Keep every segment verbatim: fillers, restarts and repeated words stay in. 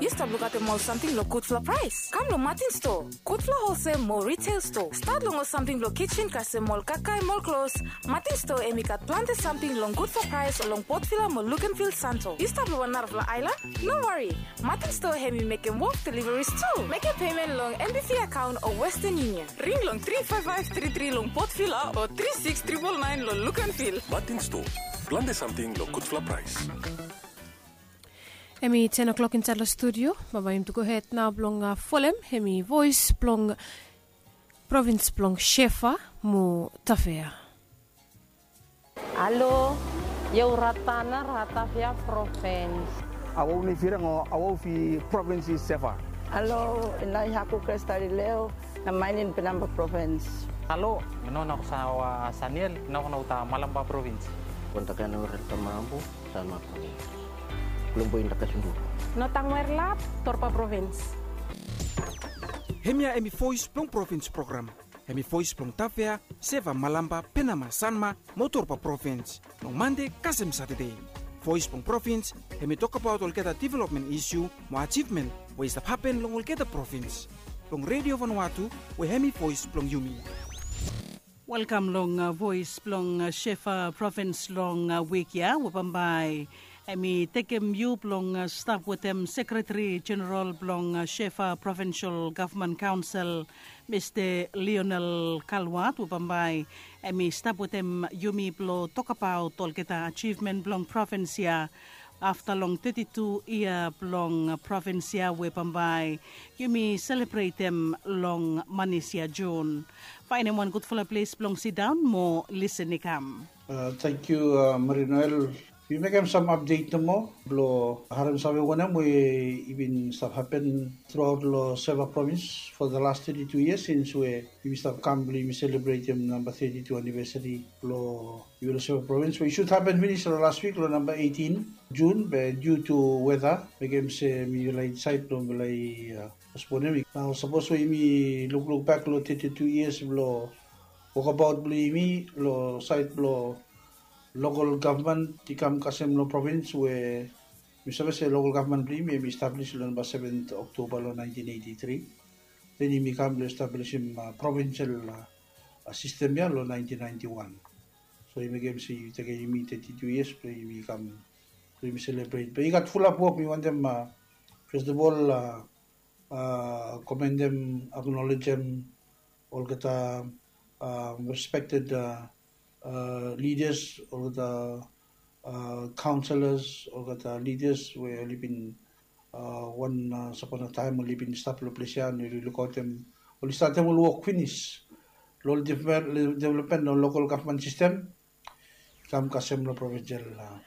Yu stap lukaotem ol samting long gudfala praes? Kam long Martin Store, gudfala holsel mo retail store. Stat long ol samting blong kitchen kasem ol kakae mo ol klos. Martin Store hemi gat plante samting long gudfala praes long Port Vila mo Luganville, Santo. Yu stap long wan narafala aelan? No wari. Martin Store hemi mekem wok deliveries tu. Mekem pemen long M B V akaon o Western Union. Ring long tri faef faef tri tri long Port Vila o tri siks tripol naen long Luganville. Martin Store, plante samting long gudfala praes. Hemi ten o'clock insaed long studio. Bambae yumi tu gohed nao blong, ah, folem hemi voes blong provins blong Shefa mo Tafea. Alo, io u Ratana, Ratafia provins. Awau ni firang o awau fi provins i Shefa. Alo, inai haku Krestalileo, na mainin Penamba provins. Alo, mi no na kusa wa Saniel, na kuna uta Malamba provins. Kontakana Ratamabu. Salma Kone. Kulombo inda kasundu. No tangwer lap, Torpa provins. Hemia hemi voes blong provins program. Hemi voes blong Tafea, Shefa, Malamba, Penama, Sanma mo Torpa provins. Long Mande kasem Satade. Voes blong provins hemi tokbaot olgeta developmen isu mo ajivmen we i stap hapen long olgeta provins. Long Redio Vanuatu we hemi voes blong yumi. Welkam long, ah, voes blong, ah, Shefa provins long, ah, wik ya we bambae hemi tekem yu blong, ah, stap wetem Sekretari Jeneral blong, ah, Shefa Provinsol Gavman Kaonsel, Mista Lionel Kalwat, we bambae hemi stap wetem yumi blong tokbaot olgeta ajivmen blong provins ya afta long teti tu yia blong provins ya we bambae yumi selebretem long manis ya Jun. Faenem wan gudfala ples blong sidaon mo lisen i kam. Tangkiu, Marie Noel. Mi mekem sam apdet nomo blong harem save wanem we i bin stap hapen truaot long Shefa provins for the last thirty-two years since we yumi stap kam blong yumi selebretem namba thirty-two anivesari blong Yumi long Shefa provins we i sud hapen finis long las wik long namba eitin Jun, be diu tu weta mekem se mi laik disaed blong mi laik, ah, postponem. Nao sapos we yumi lukluk bak long teti tu yias blong wokabaot blong yumi long saed blong lokol gavman i kam kasem long provins we mi save se lokol gavman blong yumi hemi establis long namba seven Oktoba long naentin eiti tri. Den yumi kam blong establisim, ah, provinsol, ah, sistem ya long naentin naenti wan. So i mekem se i tekem yumi teti tu yias blong yumi kam blong yumi selebret. Be i gat fulap wok mi wantem, ah, fes of ol, ah, ah, komendem, aknolejem olgeta, ah, respekted, ah, ah, lidas, olgeta, ah, kaonselas, olgeta lidas we oli bin, ah, wan, ah, sapona taem oli bin stap long ples ya, oli lukaotem, oli statem ol wok finis long ol developmen long lokol gavman sistem i kam kasem long provinsol, ah,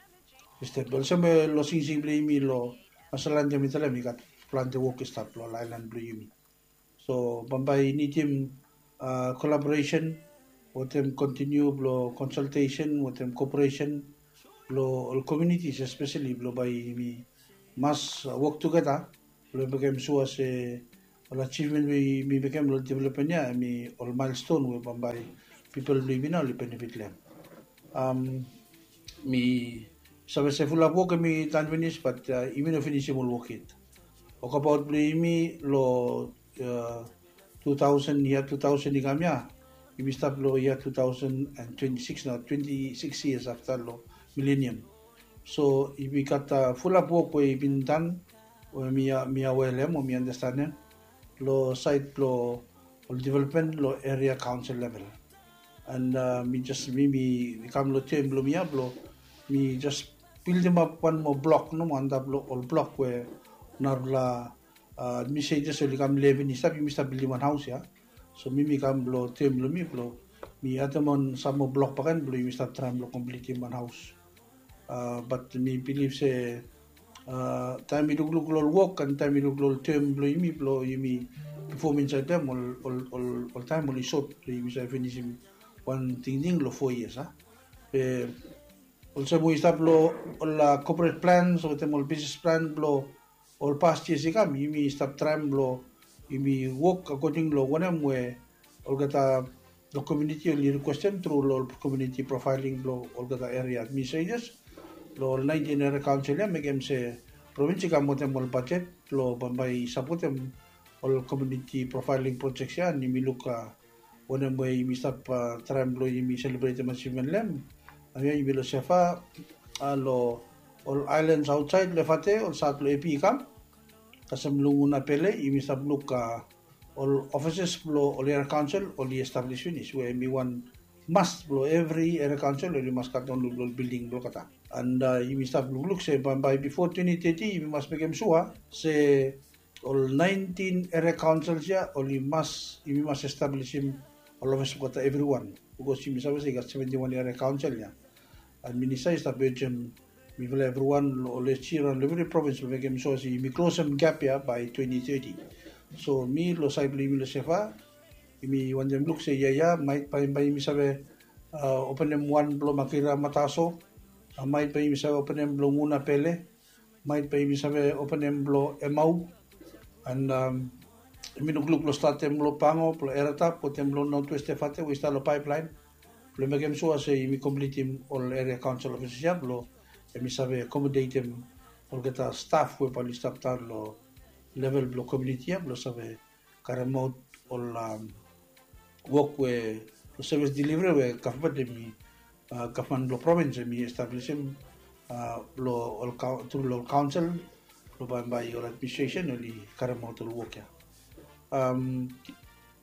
sistem. Be olsem we long singsing blong yumi long Masaland ya mi talem i gat plante wok i stap long ol aelan blong yumi. So bambae i nidim, ah, kolaboresen wetem kontiniu blong konsaltesen wetem koperesen blong ol komiunitis, espeseli blong bae yumi mas, ah, wok tugeta blong mekem sua se ol ajivmen we yumi mekem long developmen ya hemi ol maelston we bambae pipol blong yumi nao oli benefit long hem. Mi save se fulap wok hemi tan finis, bat, ah, yumi no finisim ol wok yet. Wokabaot blong yumi long, ah, tu taosen, yia tu taosen i kam ya, yumi stap long yia tu taosen and twenti sikis nao, twenti sikis yias afta long milenium. So yumi gat, ah, fulap wok we i bin tan we mi, ah, mi awea long hem o mi andastanem long saed blong ol developmen long eria kaonsel level. And, ah, mi jes, mi, mi kam long tem blong mi ya blong mi jes bildimap wan moa blok nomo antap long ol blok we narafala, ah, administretors oli kam lef finis, stap, yumi stap bildim wan haos ya. So mi, mi kam long tem blong mi blong mi adem on sam moa blok bakegen blong yumi stap traem blong komplitim wan haos. Ah, bat mi bilif se, ah, taem mi lukluk long ol wok and taem mi luk long ol tem blong yumi blong yumi pefom insaed long hem, ol, ol, ol, ol taem oli sot blong yumi save finisim wan tingting long fo yias, ah. Be olsem we i stap long ol, ah, corporate plans wetem ol bisnis plan blong ol past yias i kam, yumi stap traem blong yumi wok akoding long wanem we olgeta long komuniti oli rikwestem tru long ol komuniti profaeling blong olgeta eria administretors long ol naentin eria kaonsel ya, mekem se provins i kam wetem ol bajet blong bambae i sapotem ol community profiling projects ya, and yumi luk wanem we yumi stap traem blong yumi selebretem achievement blong hem. Nao ya yumi long Shefa, long ol islands outside long Efate, ol sat long Epi i kam. Kasem long Ngunapele yumi stap luk ol offices blong ol area council oli establish finis, we hemi wan must blong evri area council oli mas gat wan long ol building blong olgeta. And yumi stap lukluk se bambae bifo twenty thirty yumi mas mekem sua se ol nineteen area councils ya oli mas, yumi mas establishim ol office blong olgeta evriwan, bikos yumi save se i gat seventy one area council ya. And minista i stap urgem mifala evriwan long ol S G raon long evri provins blong mekem sua se yumi klosem gap ya bae twenty thirty. So mi long saed blong yumi long Shefa, yumi wantem luk se ya ya maet bae, bae yumi save openem wan blong Makira Mataso, maet bae yumi save openem blong Ngunapele, maet bae yumi save openem blong Emau. And yumi lukluk blong statem long Pango, blong Eratap, wetem long Northwest Efate we i stap long pipeline, blong mekem sua se yumi komplitim ol area council offices ya blong hemi save accommodatem olgeta staf we bae oli stap daon long level blong community ya blong save karemaot ol wok we, ol service delivery we gavman hemi, gavman blong provins hemi establisim long ol, tru long ol council blong bambae ol administration oli karemaot ol wok ya.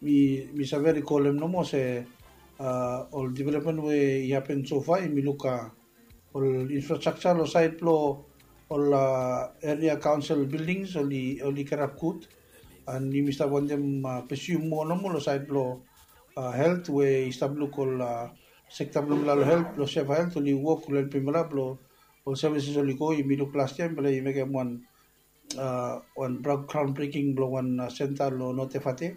Mi, mi save rikolem nomo se ol development we i hapen sofa, yumi luk ol infrastructure long saed blong ol area council buildings oli, oli kirap gud. And yumi stap wantem pursue moa nomo long saed blong health, we i stap luk ol sekta blong mifala long health, long Shefa Health oli wok long helpim mifala blong ol services oli go. Yumi luk las yia mifala i mekem wan, wan groundbreaking blong wan senta long North Efate.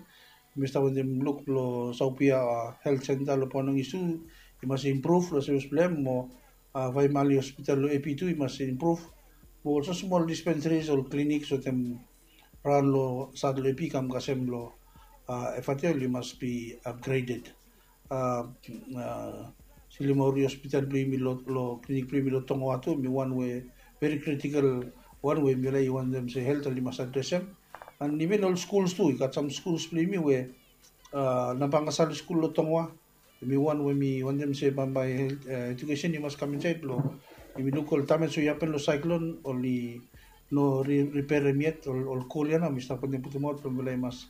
Mi stap wantem luk blong Saupia Health Center long Ponong Isu i mas improve long service blong hem, mo Vaimali Hospital long Epi tu i mas improve, mo olsem smol dispensaries, ol clinics wetem raon long sat long Epi i kam kasem long Efate oli mas be upgraded. Silimaori Hospital blong yumi long, long clinic blong yumi long Tongoa tu hemi wan we very critical wan we mifala i wantem se health oli mas adresem. And even ol schools tu, i gat sam schools blong yumi we Nabangasali School long Tongoa, hemi wan we mi wantem se bambae health, education i mas kam insaed blong yumi luk ol damage we i hapen long cyclone oli no repairem yet, ol, ol goal ya nao mi stap wantem putumaot blong mifala i mas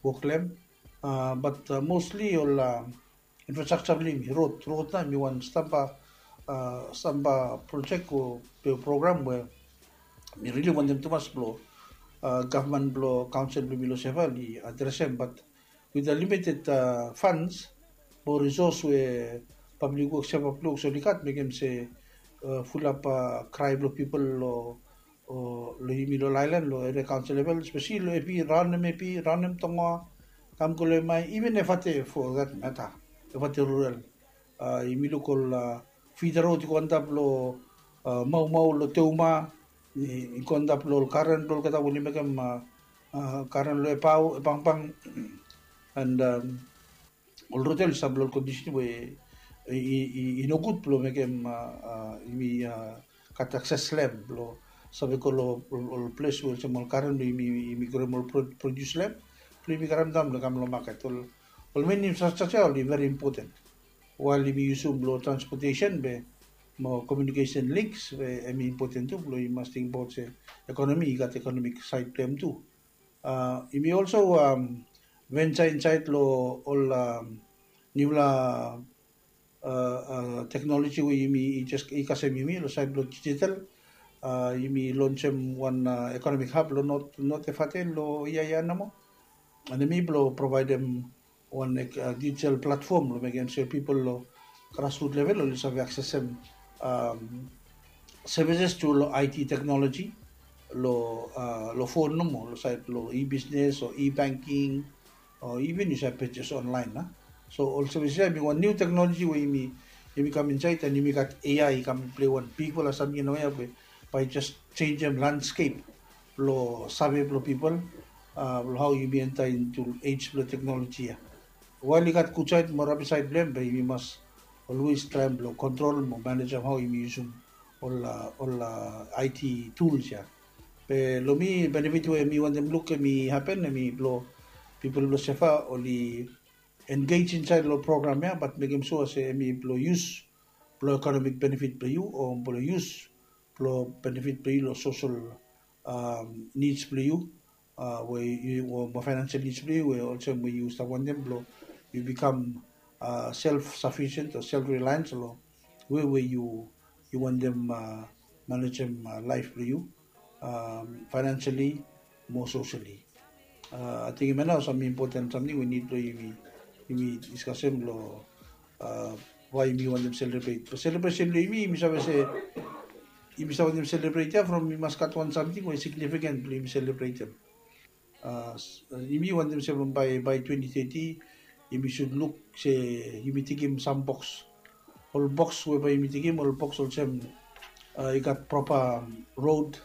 wok long hem. But mostly ol infrastructure blong yumi, road, road nao hemi wan stamba, stamba project o program we mi rili wantem tumas blong gavman blong kaonsel blong yumi long Shefa oli adresem, but with the limited funds o resource we Public Works, Shefa Public Works oli gat, mekem se fulap krae blong pipol long, long yumi long aelan, long area kaonsel level, espeseli long Epi, raon nem Epi, raon nem Tongoa, kam go long Emae, even Efate for that matter, Efate rural. Yumi luk ol feeder road i go antap long Maumau, long Teuma, i go antap long ol garen blong olgeta we oli mekem garen long Epau, Epangpang, and ol rod ya oli stap long ol kondisen we i nogud blong mekem yumi gat akses long hem blong save go long ol ples we olsem ol garen blong yumi, yumi groem ol produs long hem, blong yumi karem daon blong kam long maket. Ol, ol main infrastructure ya oli very important. Wael yumi yusum blong transportation be mo communication links we hemi important tu, blong yumi mas tingbaot se ekonomi i gat economic side blong hem tu. Yumi also venture insaed long ol niufala teknoloji we yumi i jes i kasem yumi long saed blong digital. Yumi lonsem wan economic hub long North, North Efate long yia ya nomo. And hemi blong provaedem wan digital platform long mekem se pipol long grassroot level oli save aksesem services tru long I T technology long, long phone nomo, long saed long e-business o e-banking o even yu save purchase online, a. So ol services ya hemi wan niu teknoloji we yumi, yumi kam insaed, and yumi gat A I i kam plei wan bigfala samting long ya we bae i jes jenjem landscape blong save blong pipol blong hao yumi enter into age blong teknoloji ya. Wael i gat gud saed mo rabis saed blong hem, be yumi mas always traem blong kontrol mo manejem hao yumi yusum ol, ol I T tools ya. Be long mi benefit we mi wantem luk em i hapen em i blong pipol blong Sefa oli engage insait long program ya, bat mekem sua se em i blong yus blong economic benefit blong yu o blong yus blong benefit blong yu long social um, needs blong yu, uh, we yu o mo financial needs blong yu we olsem we yu stap wantem blong yu become uh, self sufficient o self reliance long we we yu yu wantem uh, managem uh, life blong yu um, financially mo socially. Uh, I think him nao sam important something we need blong yumi yumi discussem long uh, why yumi wantem celebrate. But celebration blong yumi yumi save se yumi save wantem celebrate ya from yumi mas gat wan something we significant blong yumi celebratem. Uh, yumi wantem se from by by twenty thirty yumi should look se yumi tingim sam box. Ol box we bae yumi tingim ol box olsem uh, i gat proper um, road,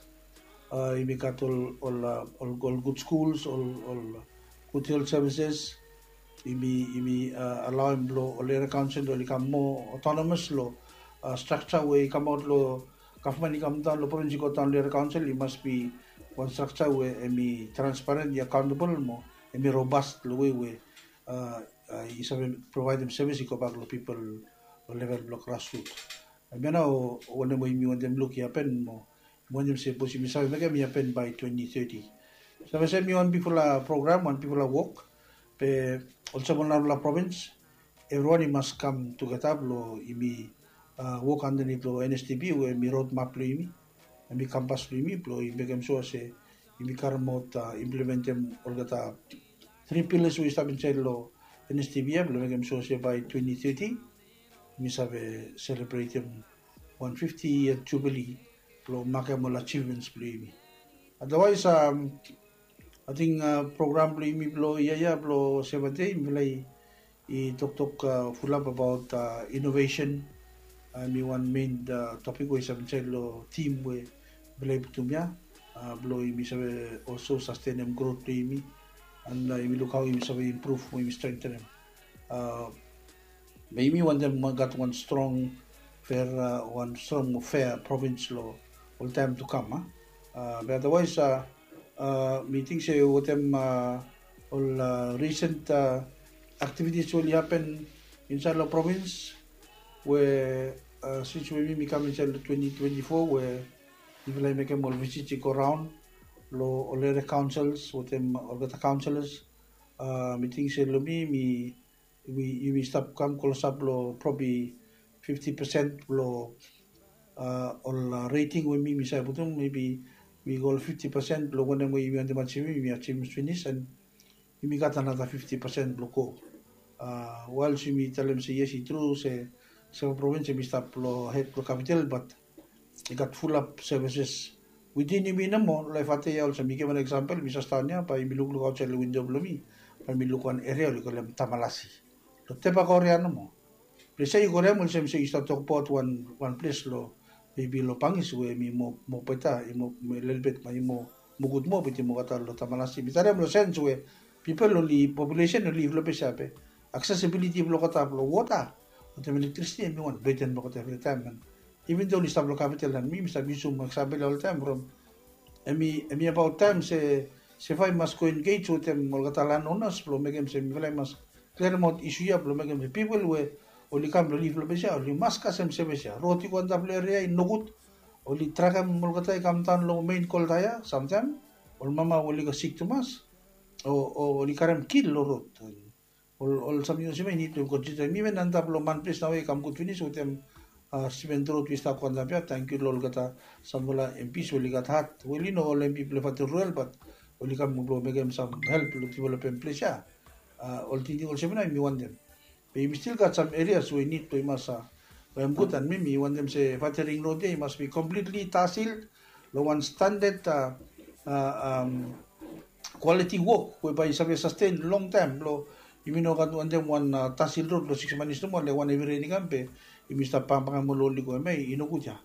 uh, yumi gat ol ol uh, ol, ol good schools, ol ol good health services. Yumi yumi uh, allow em blong ol area council oli kam more autonomous long uh, structure we i kamaot long gavman i kam daon long provins i go daon long area council i mas be wan structure we em i transparent, i accountable mo em i robust long way we uh, uh, i save providem service i go bak long pipol long level blong grassroot. Hemia nao wanem we yumi wantem luk i hapen mo mi wantem se sapos yumi save mekem i hapen by twenty thirty. Save se mi wan bifala program wan bifala wok be olsem ol narafala provins evriwan i mas kam tugeta blong yumi uh, wok andanit long N S T P we mi road map blong yumi em i kampas blong yumi blong i mekem sua se yumi karemaot uh, implementem olgeta tri pillars we i stap insait long N S T P ya blong mekem sua se by twenty thirty yumi save selebretem wan fifty year jubilee blong makem ol achievements blong yumi. Otherwise um, I think uh, program blong yumi blong ia ya blong Seventh Day mifala i toktok uh, fulap abaot uh, innovation. Uh, mi wan main uh, topic we i save insait long team we mifala i putum ya uh, blong yumi save also sustainem growth blong yumi and uh, yumi luk how yumi save improve mo yumi strengthenem. Uh, be yumi wantem gat wan strong fair uh, wan strong mo fair province long ol taem to come. Uh, be otherwise uh, uh, mi ting se wetem uh, ol uh, recent uh, activities we oli happen inside long province we uh, since we mi mi kam inside long twenty twenty-four we mifala i mekem ol visit i go raon long ol area councils wetem olgeta councillors. Uh, mi ting se long mi mi yumi stap kam klosap long probi fifty percent blong uh, ol uh, rating we mi mi save putum maybe mi go ol fifty percent blong wanem we yumi wantem achivim yumi achivim finis and yumi gat anata fifty percent blong go. Uh, waels yumi talem se yes i tru se Sefa provins yumi stap long hed blong kapital bat i gat fulap services witin yumi nomo. Laef ate ya olsem mi givim wan eksampel mi sas daon ya bae yumi lukluk aotsaed long windo blong mi bae mi luk wan eria oli kolem Tamalasi. Long Tebak orea nomo. Ples ya yu go long hem olsem se yu stap tokbaot wan wan ples long maybe long Bangis we em i moa moa beta i moa lelebet ma i moa moa gud moa beti moa olgeta long Tamalasi. Mi talem long sens we pipol oli populesen oli liv long ples ya be aksesibiliti blong olgeta blong wota wetem elektrisiti em i wan beten blong olgeta evritaem. Even do oli stap long kapital and mi mi stap yusum eksampol ya oltaem from em i abaot taem se Sefa i mas go engej wetem olgeta landonas blong mekem se mifala i mas klirim aot isu ya blong mekem se pipol we oli kam blong liv long ples ya oli mas kasem sevis ya. Rod i go antap long eria i nogud. Oli trakem olgeta i kam daon long mein kolta ya samtaem ol mama we oli go sik tumas o oli karem kil long rod. Ol ol samting olsem ya i nid blong konsida mi wen antap long manples nao ya i kam gud finis wetem simen rod we i stap go antap ya. Tangkiu long olgeta samfala empis we oli gat hat we oli no ol empi blong fatel ruel bat oli kam blong mekem sam help blong developem ples ya. Ol tingting olsem ya nao yumi wantem be yumi stil gat sam erias we i nid blong i mas wem gud and mi mi wantem se fatering rod ya i mas bi komplitli tasil long wan standad kwaliti wok we bae i save sasten longtaem blong yumi no gat wantem wan tasil rod long siks manis nomo le wan hevi ren i kam be yumi stap bangbangem ol oli go hemia i nogud ya.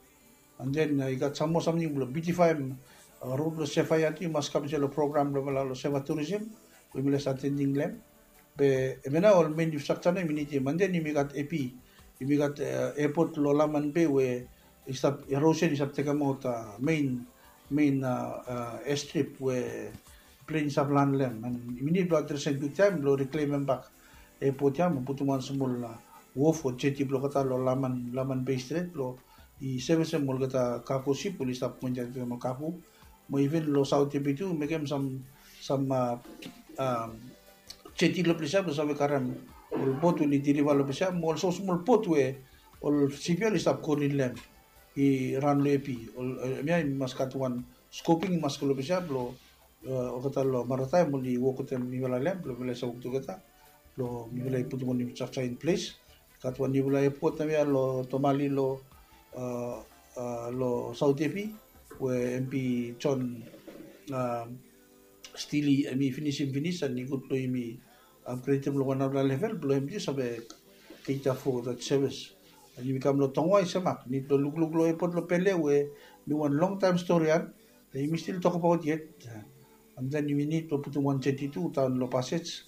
And then i gat sam moa samting blong biutifaem rod blong Sefa ya tu i mas kam insait long program blong mifala long Sefa Tourism we mifala i save atendim long hem. Be hemia nao ol mein infrastructure nao yumi nidim and then yumi gat epi yumi gat airport long Laman Bay we i stap erosion i stap tekemaot mein main airstrip we plen i save lan long hem. And yumi nid blong adresem kwiktaem blong riklemem bak epot ya mo putum wan smol wof o jeti blong olgeta long Laman, Laman Bay Strait blong i sevesem olgeta kago sip oli stap go insaed wetem ol kago. Mo iven long Saot Epi tu mekem sam, sam jeti long ples ya blong save karem ol bot we oli deliva long ples ya mo olsem smol bot we ol sip ya oli stap go rin long hem i ran long Epi. Hemia i mas gat wan scoping i mas go long ples ya blong olgeta long marataem oli wok wetem mifala long hem blong mifala i save wok tugeta blong mifala i putum wan infrastructure in place. Gat wan niufala epot naoia long Tomale long, long Saot Epi we MP John Steely hemi finisim finis and i gud blong yumi upgradem long wan narafala level blong hem tu save cater for that service. And yumi kam long Tonga i semak, nid blong lukluk long epot long Pele we mi wan longtaem stori ya, yumi stil tokbaot yet. And then yumi nid blong putum wan jeti tu daon long Passage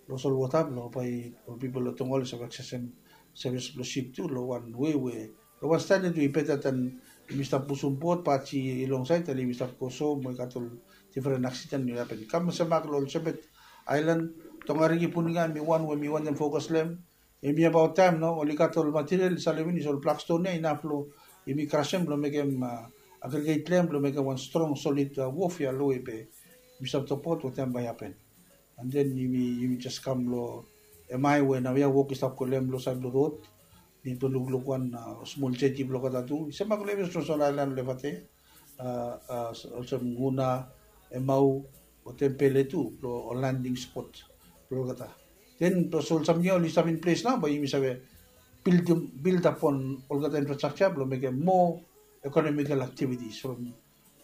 long solwota blong bae ol pipol long Tonga oli save aksesem sevis blong sip tu long wan wei we long wan standad we i beta dan yumi stap pusum bot, baji i longsaed, taem yumi stap go so mo i gat ol difren aksiden we i hapen. Kam semak long ol Shepherd Island, Tongariki, Puninga, hemi wan we mi wantem fokas long hem. Hemi abaot taem nao oli gat ol material i salem finis, ol blak ston ya inaf long yumi krasem blong mekem agriget long hem blong mekem wan strong solid wof ya long we be yumi stap tokbaot wetem bae i hapen. And then yumi, yumi jes kam long hemia we naoia wok i stap go long hem long saed blong rod. Nid blong lukluk wan smol jeti blong olgeta tu i semak long evri smosmol aelan long Efate, olsem Nguna, Emau, wetem Pele tu blong ol landing spot blong olgeta. Then blong olsem ya oli stap in ples nao bae yumi save build, build upon olgeta infrastructure blong mekem more economical activities from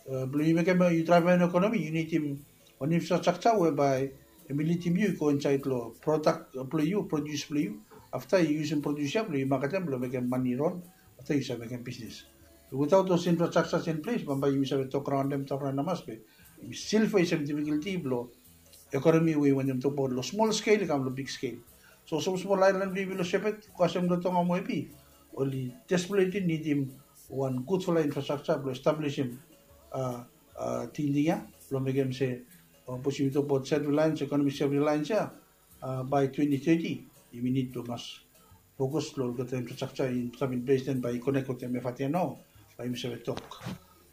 blong yu mekem yu draevem ekonomi yu nidim wan infrastructure we bae hemi lidim yu i go insaed long prodak blong yu, produs blong yu. Afta yu yusum produs ya blong yu maketem blong mekem mane ron. Afta yu save mekem bisnis. Without those infrastructures in place bambae yumi save tok raon long hem, tok raon long hem, be yumi stil fesem difikulti blong ekonomi we yu wantem tokbaot long smol skel i kam long big skel. So smosmol aelan blong yumi long Shepherd, kasem long Tonga mo Epi, oli desperately nidim wan gudfala infrastructure blong establisim tingting ya blong mekem se, sapos yumi tokbaot self reliance, ekonomi self reliance ya, bae twenty thirty yumi nid blong mas fokas long olgeta infrastructure i stap in ples, then bae i konek wetem Efate nao bae yumi save tok,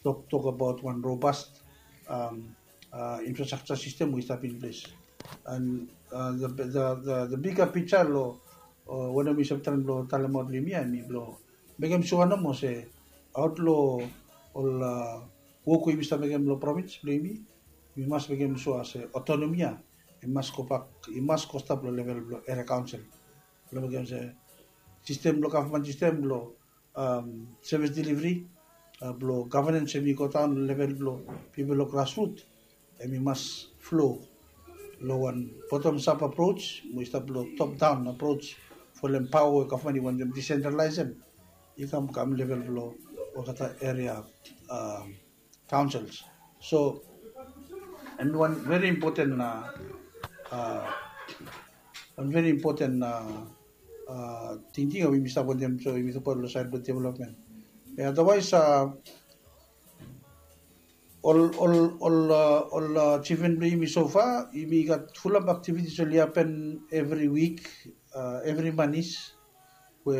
tok, tok abaot wan robust infrastructure system we i stap in ples. And the, the, the, the bigger picture long wanem mi save traem blong talemaot long yumi ya hemi blong mekem sua nomo se aot long ol wok we yumi stap mekem long provins blong yumi, yumi mas mekem sua se autonomy ya i mas gobak, i mas go stap long level blong area council. Blong mekem se sistem blong gavman sistem blong sevis deliveri blong gavenens hemi go daon long level blong pipol long grasrut, hemi mas flo long wan bottom up approach mo i stap long top down approach. Folem paoa we gavman i wantem disentralaesem i kam kam level blong olgeta area councils. So hemi wan very important, wan very important tingting we yumi stap wantem, so yumi tokbaot long saed blong development. Be otherwise ol, ol, ol achievement blong yumi so far, yumi gat fulap activities oli hapen evri wik, evri manis we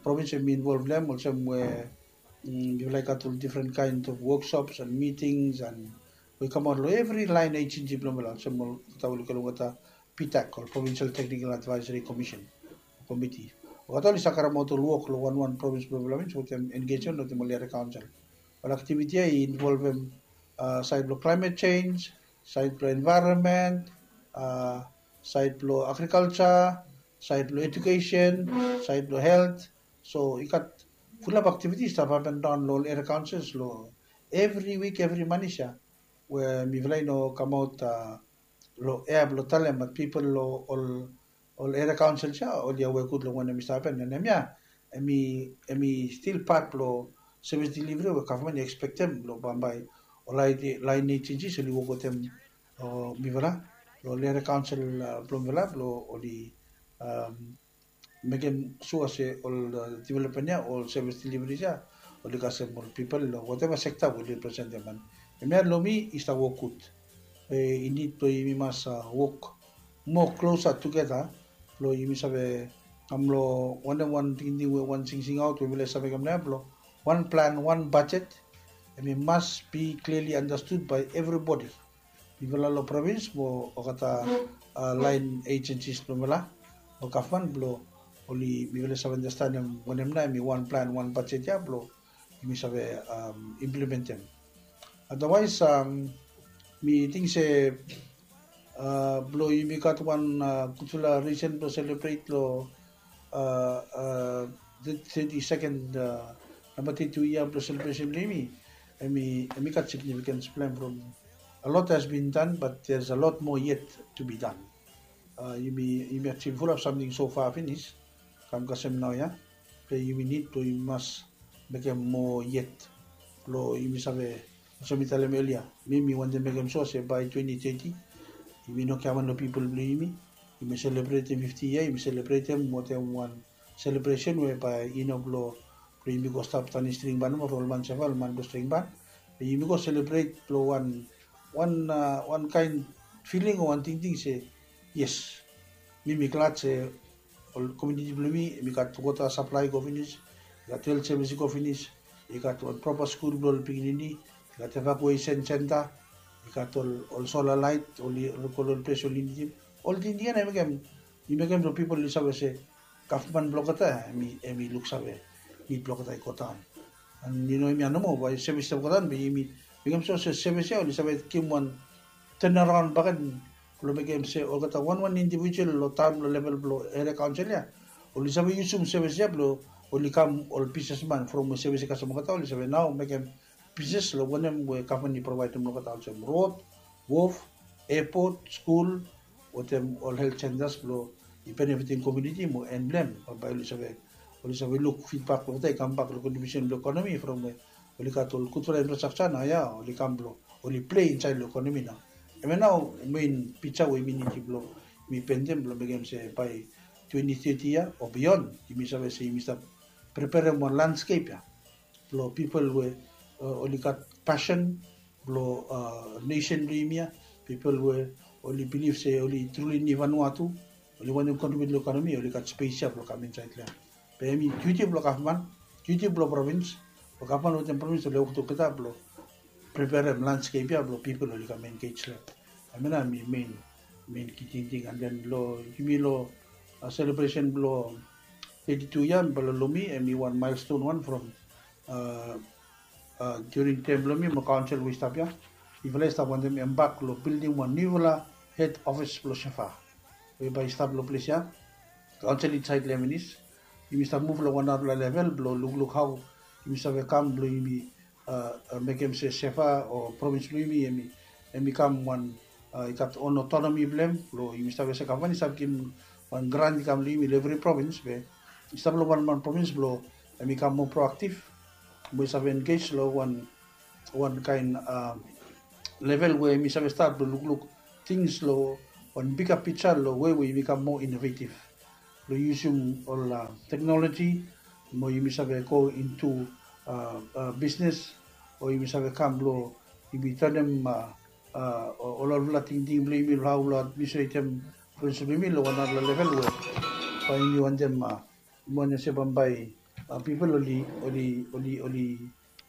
provins hemi involve long hem, olsem we mifala i gat ol different kind of workshops and meetings and we kamaot long evri laen agency blong mifala, olsem olgeta we oli go long olgeta PTAC, ol Provincial Technical Advisory Commission, Committee. Olgeta oli save karemaot ol wok long wanwan provins blong mifala, wetem engagement wetem ol area council. Ol activity ya i involvem saed blong climate change, saed blong environment, saed blong agriculture, saed blong education, saed blong health. So i gat fulap activities i stap hapen daon long ol area councils long evri wik, evri manis ya, we mifala i no kamaot long ea blong talem, bat pipol long ol, ol area councils ya oli aware gud long wanem i stap hapen. And hemia hemi, hemi stil pat blong sevis deliveri we gavman i ekspektem blong bambae ol laen agencies oli wok wetem mifala, long ol area council blong mifala, blong oli mekem sua se ol development ya, ol sevis deliveries ya oli kasem ol pipol long whatever sekta we oli representem. Hemia long mi i stap wok gud. Be i nid blong yumi mas wok moa klosa tugeta blong yumi save kam long wanem wan tingting we wan singsingaot we mifala i save mekem nao blong wan plan, wan bajet. Hemi mas be clearly understood by everybody. Mifala long provins mo olgeta lain agencies blong mifala long gavman blong oli mifala i save andastanem wanem nao hemi wan plan, wan bajet ya blong yumi save implementem. Otherwise, mi ting se blong yumi gat wan gudfala risen blong selebret long thirty second, namba thirty two yia blong selebresen blong yumi. Hemi gat significance blong hem from a lot has been done, but there's a lot more yet to be done. Yumi yumi actually fulap samting so far finis kam kasem naoia. Be yumi nid blong yumi mas mekem moa yet blong yumi save, olsem mi talem elia, mi mi wantem mekem sua se bae twenty thirty yumi no giaman long pipol blong yumi. Yumi selebretem fifti yia, yumi selebretem wetem wan selebresen we bae i no blong blong yumi go stap tanim stringban nomo from ol man seva, ol man blong stringban. Be yumi go selebret blong wan wan wan kaen filing o wan tingting se yes, mi mi glad se ol komuniti blong mi, mi gat wota saplae i go finis, i gat helt sevis i go finis, i gat ol propa skul blong ol pikinini, i gat evakuesen senta, i gat ol ol sola laet oli rukol ol ples oli nidim. Ol tingting ya na i mekem i mekem blong pipol oli save se gavman blong olgeta ya hemi luksave nid blong olgeta i godaon. An i no hemia nomo bae sevis i stap godaon be yumi mekem sua se sevis ya oli save givim wan tenaraon bakegen blong mekem se olgeta wanwan indivijual long taon blong level blong eria kaonsel ya oli save yusum sevis ya blong oli kam ol bisnesman from we sevis i kasem olgeta oli save nao mekem bisnes long wanem we gavman i provaedem long olgeta olsem rod, wof, epot, skul, wetem ol helt sentas blong i benefitim komuniti mo en blong hem. Bambae oli save oli save luk fidbak blong olgeta i kambak long kontribiusen blong ekonomi from we oli gat ol gudfala infrastraksa naoia oli kam blong oli plei insaed long ekonomi nao. Hemia nao mein pija we yumi nidim blong yumi pentem blong mekem se bae twenty thirty ya o bion yumi save se yumi stap preperem wan landskep ya blong pipol we oli gat pasen blong nesen blong yumi ya, pipol we oli bilif se oli truli nid Vanuatu, oli wantem kontribiut long ekonomi, oli gat spes ya blong kam insaed long hem. Be hemi diuti blong gavman, diuti blong provins, blong gavman wetem provins oli wok tugeta blong preperem landskep ya blong pipol oli kam engej long hem. Hemia nao hemi mein mein ki tingting. An den long yumi long selebresen blong thirty two ya mifala long mi hemi wan milestone wan from during tem blong mi mo kaonsel we i stap ya. Mifala i stap wantem embak long bildim wan niufala hed ofis blong sefa we bae i stap long ples ya. Kaonsel insaed long hem finis, yumi stap muv long wan narafala level blong lukluk hao yumi save kam blong yumi mekem se sefa o provins blong yumi hemi kam wan i gat on otonomi blong hem blong yumi save se gavman i save givim wan grant i kam long yumi long evri provins be i stap long wanwan provins blong hemi kam moa proaktiv mo i save engej long wan wan kaen level we yumi save stat blong lukluk tings long wan biga pija long we we yumi kam moa inovetiv blong yusum ol teknoloji mo yumi save go intu bisnes o yumi save kam blong yumi tanem ol olfala tingting blong yumi long hao blong administretem provins blong yumi long wan narafala level we bae yumi wantem yumi wantem se bambae pipol oli oli oli oli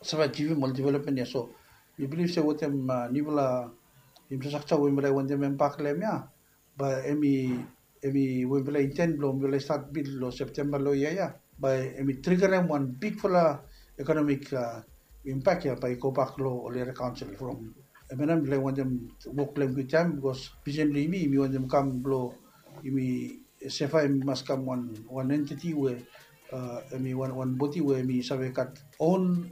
save ajivim ol developmen ya. So mi bilif se wetem niufala infrastraksa we mifala i wantem embak long hem ya bae hemi hemi we mifala i inten blong mifala i stat bil long Septemba long yia ya bae hemi trigarem wan bigfala ekonomik impak ya bae i gobak long ol eria kaonsel from hemia nao mifala i wantem wok long hem kwiktaem bikos visen blong yumi yumi wantem kam blong yumi sefa hemi mas kam wan wan entiti we hemi wan wan bodi we hemi save gat on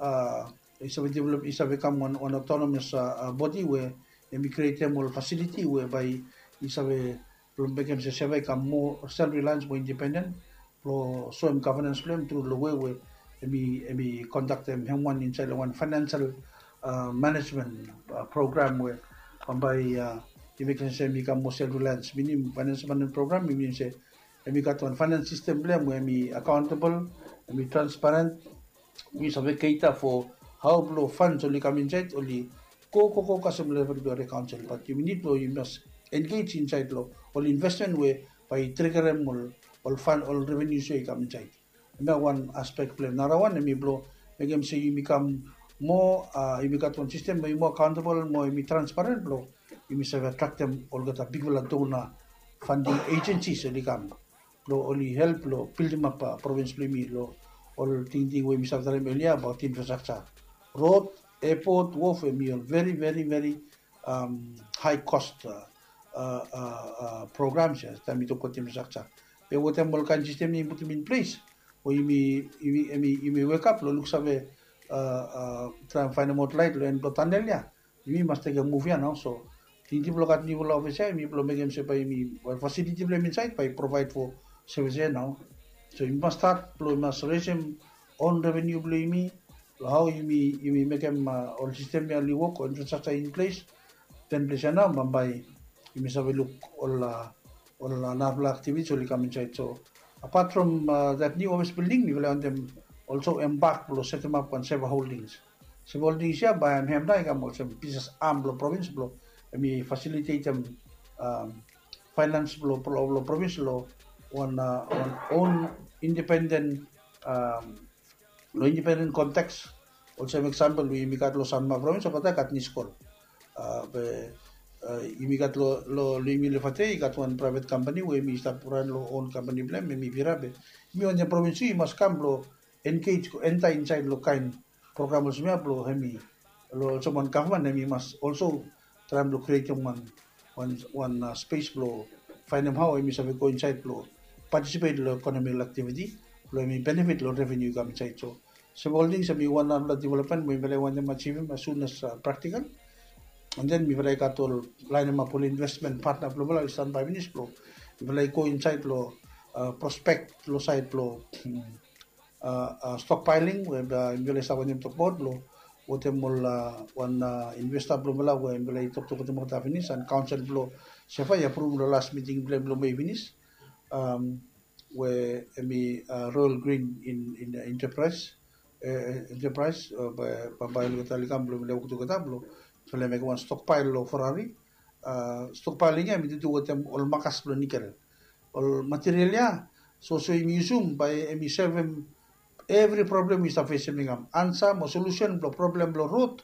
i save develop i save kam wan wan otonomas bodi we hemi krietem ol fasiliti we bae i save blong mekem se sefa i kam moa self relians moa independen blong soem gavenans blong hem tru long we we hemi hemi kondaktem hem wan insaed long wan fainansel manejmen program we bambae i mekem se hemi kam moa self relians minim fainansel manejmen program i minim se hemi gat wan fainans sistem blong hem we hemi akaontabol, hemi transparent we save cater for how blo funds oli kam inside, oli go go go kasem level blo area council, but yumi nid blo yumi mas engage inside lo ol investment we bae i triggerem ol ol fund, ol revenues we i kam inside. Hemia wan aspect blo hem. Nara wan hemi blo mekem se yumi kam moa, yumi gat wan system we i moa accountable, moa yumi transparent blo yumi save attractem olgeta bigfala donor funding agencies oli kam blo oli help lo building up province blo yumi lo ol tingting we yumi save talem earlier about infrastructure, road, airport, wharf, hemi ol very very very high cost programs ia taem mi tokbaot infrastructure. Be wetem ol kaen system yumi putum in place we yumi wake up lo luksave, traem faenem aot laet lo en blo tunnel ia, yumi mas tekem move ia nao. So tingting blo gat niufala office ia, yumi blo mekem se bae yumi, wel, facility blo hem insait bae i provide for service ia nao. So yumi mas stat blo yumi mas raisem own revenue blo yumi lo hao yumi mekem ol system ia oli wok, ol infrastructure in place. Then ples ia nao bambae yumi save luk ol ol narafala activities oli kam insait. So apart from that new office building, mifala i wantem also embark blo setem ap wan Seva Holdings. Seva Holdings ia bae hem nao i kam olsem business arm blo province blo hemi facilitatem finance blo province lo wan own independent, lo independent context. Olsem example we yumi gat lo Sanma province, olgeta i gat NISCOL. Be yumi gat lo, lo yumi lo Efate i gat wan private company we hemi stap ran lo own company blo hem, hemi Vira. Be yumi wantem province tu i mas kam blo engage, go enter inside lo kaen program olsem ia blo hemi, lo olsem wan gavman hemi mas also traem blo createm wan, wan space blo faenem hao hemi save go insait blo participate lo economical activity blo hemi benefit lo revenue i kam insait. So Seva Holdings hemi wan narafala development we mifala i wantem achievem as soon as practical. And then mifala i gat ol laenem ap ol investment partner blo mifala oli stanbae finis blo mifala i go insait lo prospect lo sait blo stockpiling we mifala i stap wantem tokbaot blo wetem ol wan investor blo mifala we mifala i toktok wetem olgeta finis, and council blo Seva i approve lo last meeting blo hem lo Mei finis, we hemi Royal Green Enterprise, Enterprise. Bambae olgeta oli kam blo mifala i wok tugeta blo mifala i mekem wan stockpile lo Ferrari. Stockpiling ia hemi tu wetem ol makas blo nikel, ol material ia. So so yumi yusum bae hemi solvem evri problem we i stap fesem i kam. Ansa mo solution blo problem blo road,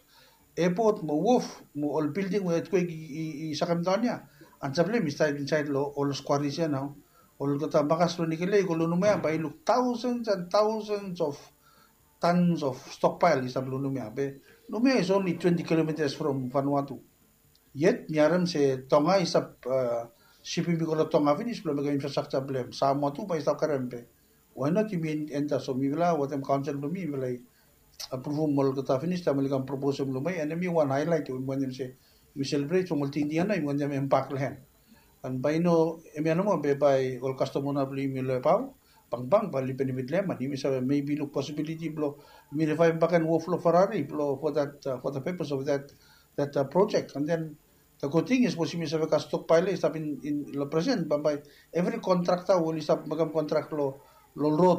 airport mo wharf mo ol building we earthquake i sakemdaon ia, ansa blo hem i stap insait lo ol quarries ia nao. Olgeta makas blo nikel ia i go lo Noumea bae i luk thousands and thousands of tons of stockpile i stap lo Noumea. Be Noumea is only twenty kilometres from Vanuatu. Yet mi harem se Tonga i stap sipim i go lo Tonga finis blo mekem infrastructure blo hem. Samoa tu bae i stap karem. Be why not yumi enter? So mifala wetem council blo mi mifala i apruvum olgeta finis taem oli kam proposem lo Mei, and hemi wan highlight we mi wantem se yumi celebrate from ol tingting ia nao yumi wantem embark lo hem. And bae i no hemia nomo be bae ol custom owner blo yumi lo Ebao, bangbang bae oli benefit lo hem, and yumi save maybe luk possibility blo yumi revive bakegen wharf lo Ferrari blo for that, for the purpose of that, that project. And then the good thing is sapos yumi save gat stockpile ia i stap in lo present, bambae evri contractor we oli stap mekem contract lo, lo road